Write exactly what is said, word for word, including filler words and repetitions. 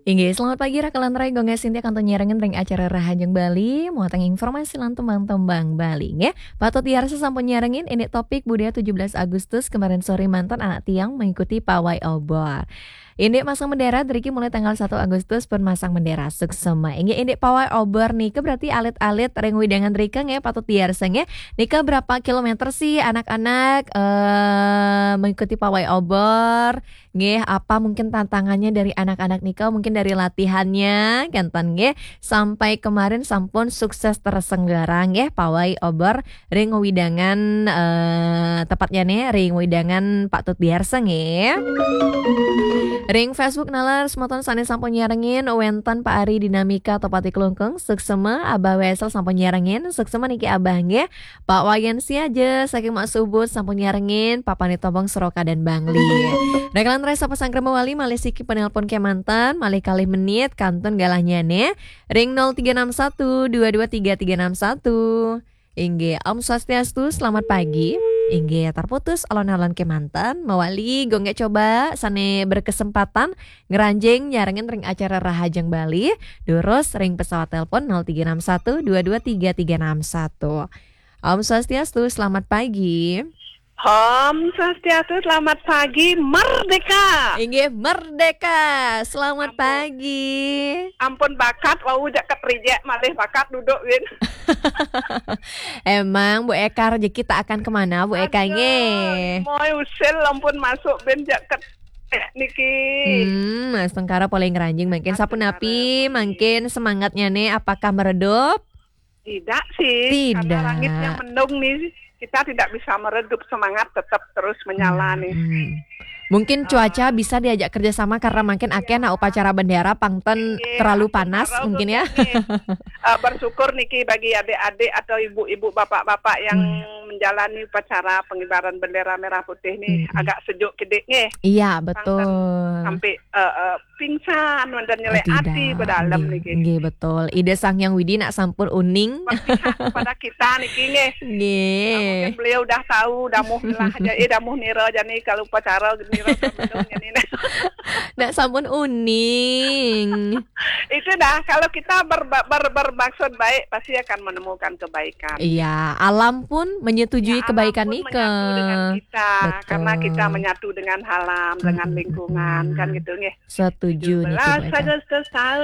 Inggih, selamat pagi, Raka lan Rai, Gung Sintia kantun nyarengin ring acara Rahajeng Bali, muatan informasi lan tembang-tembang Bali, nggih. Patut diarsa sampun nyarengin, ini topik budaya tujuh belas Agustus kemarin sore manten anak tiang mengikuti pawai obor. Indik masang bendera driki mulai tanggal satu Agustus pun masang bendera suksema. Inggih, indik pawai obor nika berarti alit-alit ring wewidangan drika nggih patut diarsa nggih. Nika berapa kilometer sih anak-anak eh, mengikuti pawai obor? Nggih, apa mungkin tantangannya dari anak-anak nika? Mungkin dari latihannya, kenten nggih. Sampai kemarin sampun sukses terselenggara nggih pawai obor ring wewidangan eh, tepatnya nih ring wewidangan Pak Tut Biarsa nggih. Ring Facebook nalar semeton sane sampun nyarengin wenten Pak Ari Dinamika Topati Klungkung, suksema. Abah Wesel sampun nyarengin, suksema niki Abah nggih. Pak Wayan Siaja saking Mak Subut sampun nyarengin, Pak Panit Tobong Seroka dan Bangli. Raka lan Rai sapa sangkrama wali malih siki penelpon kemanten, malih kalih menit kantun galahnya nih. Ring nol tiga enam satu dua dua tiga tiga enam satu. Inggih, Om Swastiastu, selamat pagi. Inggih, terputus alon-alon kemanten, mawali gung nggih coba sane berkesempatan ngranjing nyarengin ring acara Rahajeng Bali, durus ring pesawat telepon nol tiga enam satu dua dua tiga tiga enam satu. Om Swastiastu, selamat pagi. Om Swastiastu, selamat pagi, merdeka. Inggih, merdeka. Selamat Ampun. Pagi. Ampun bakat, wau jak ket rijek malih bakat duduk, Win. Emang, Bu Eka, rezeki tak akan kemana, Bu Eka, Aduh, nggih. Moy usil ampun masuk bin jak ket niki. Hmm, Mas Tengkara polih ngranjing mangkin Mas sapunapi, Tengkara polih. Mangkin semangatnya nih, apakah meredup? Tidak sih, karena Tidak. Langitnya mendung nih, kita tidak bisa meredup, semangat tetap terus menyala nih. Hmm. Mungkin cuaca bisa diajak kerjasama karena mungkin akeh nah upacara bendera pangten Iya, terlalu panas upacara mungkin ya. Mungkin nih. Eh, bersyukur niki bagi adik-adik atau ibu-ibu, bapak-bapak yang Hmm. Menjalani upacara pengibaran bendera merah putih nih. Mm-mm. Agak sejuk kidik nih. Iya, pangten betul. Sampai eh, eh, pingsan, wenten nyelek Oh, ati tidak. Bedalem nggih, niki. Nggih, betul. Ida Sang Hyang Widi nak sampun uning. Berpihak kepada kita niki nggih. Nggih. Ah, mungkin beliau udah tahu, damuh lah aja, eh, damuh nira jani kalau upacara nira sampai jani. Nak sampun uning. Itu dah, kalau kita berba-, ber-, bermaksud baik, pasti akan menemukan kebaikan. Iya, alam pun menyetujui Ya, alam kebaikan pun nika. Menyatu dengan kita, Betul. Karena kita menyatu dengan alam, dengan Mm-mm, lingkungan, mm-mm. Kan gitu nggih. Setuju niki, Bu Eka. Tujuh belas Agustus tahun